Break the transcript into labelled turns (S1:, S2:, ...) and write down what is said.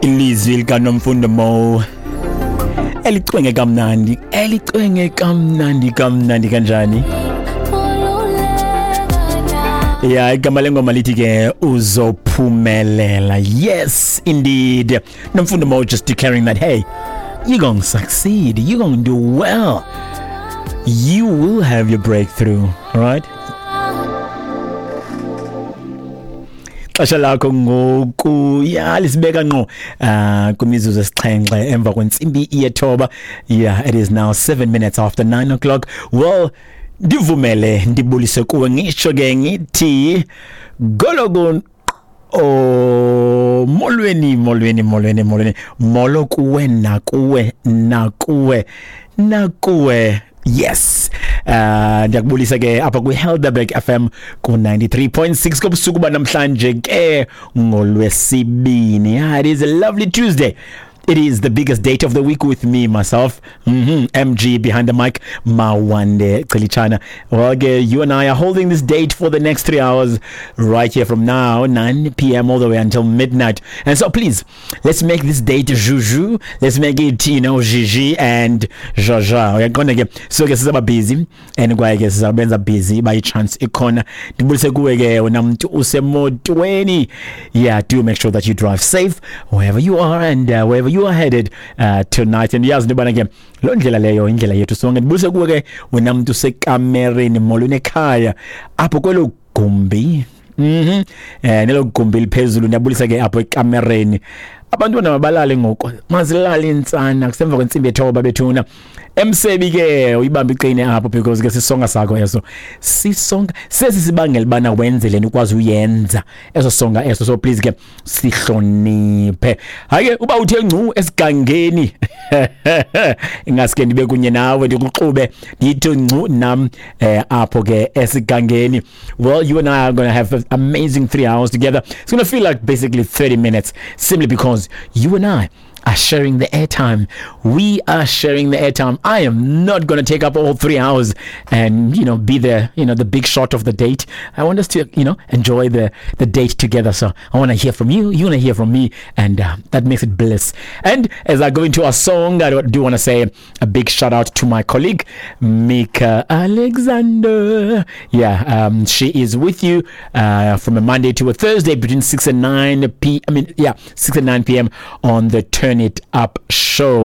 S1: Ilizwi likaNomfundo Mo elicwenge kamnandi, elicwenge kamnandi kamnandi kanjani. Ya, igama lengoma lithi ke uzophumelela. Yes indeed, Nomfundo Mo just declaring that hey, you're gonna succeed, you're gonna do well, you will have your breakthrough. All right, xesha lakho ngoku ya lisibeka ngqo kwimizuzu esixhenxe emva kwentsimbi yethoba. Yeah, it is now 7 minutes after 9 o'clock. Well, ndivumele ndibulise kuwe, ngisho ke ngithi gologo. Oh, molweni molweni molweni molweni, molo kuwe nakuwe nakuwe nakuwe. Yes, ndiyakubulisa ke apha kwi-Helderberg FM ku-93.6 kobusuku banamhlanje ke ngolwesibini. Yeah, it is a lovely Tuesday. It is the biggest date of the week with me, myself, MG behind the mic, Mawande Chilichana. Well, okay, you and I are holding this date for the next 3 hours right here from now, 9 p.m. all the way until midnight. And so please, let's make this date juju. Let's make it, you know, Gigi and Jaja. Uyaqonda ke, so ke sizaba busy and kwaye ke sizabenza busy by chance ikhona. Ndibulise kuwe ke wena mntu usemotweni. Yeah, do make sure that you drive safe wherever you are and wherever you are headed tonight. And yazi into yobana ke loo ndlela leyo indlela yethu sonke. Ndibulise kuwe ke wena mntu usekamereni, molweni ekhaya apho kwelo gumbi. Nelo gumbi liphezulu, ndiyabulisa ke apho ekamereni. Abantwana mabalale ngoku, mazilale intsana kusemva kwentsimbi yethoba bethuna. Emsebi ke uyibambe iqine apho because ke sisonga sakho eso. Sisonga sesi sibangela bana wenze le nto ukwazi uyenza eso songa eso. So please ke sihloniphe. Hayi ke uba uthe ngcu esigangeni, ingaske ndibe kunye nawe ndikuxube ndithi ngcu nam apho ke esigangeni. Well, you and I are going to have an amazing 3 hours together. It's going to feel like basically 30 minutes simply because you and I are sharing the airtime. We are sharing the airtime. I am not going to take up all 3 hours and, you know, be the, you know, the big shot of the date. I want us to, you know, enjoy the date together. So I want to hear from you. You want to hear from me. And that makes it bliss. And as I go into our song, I do want to say a big shout out to my colleague, Mika Alexander. Yeah, she is with you from a Monday to a Thursday between 6 and 9 p. I mean, yeah, 6 and 9 p.m. on the Turn It Up show.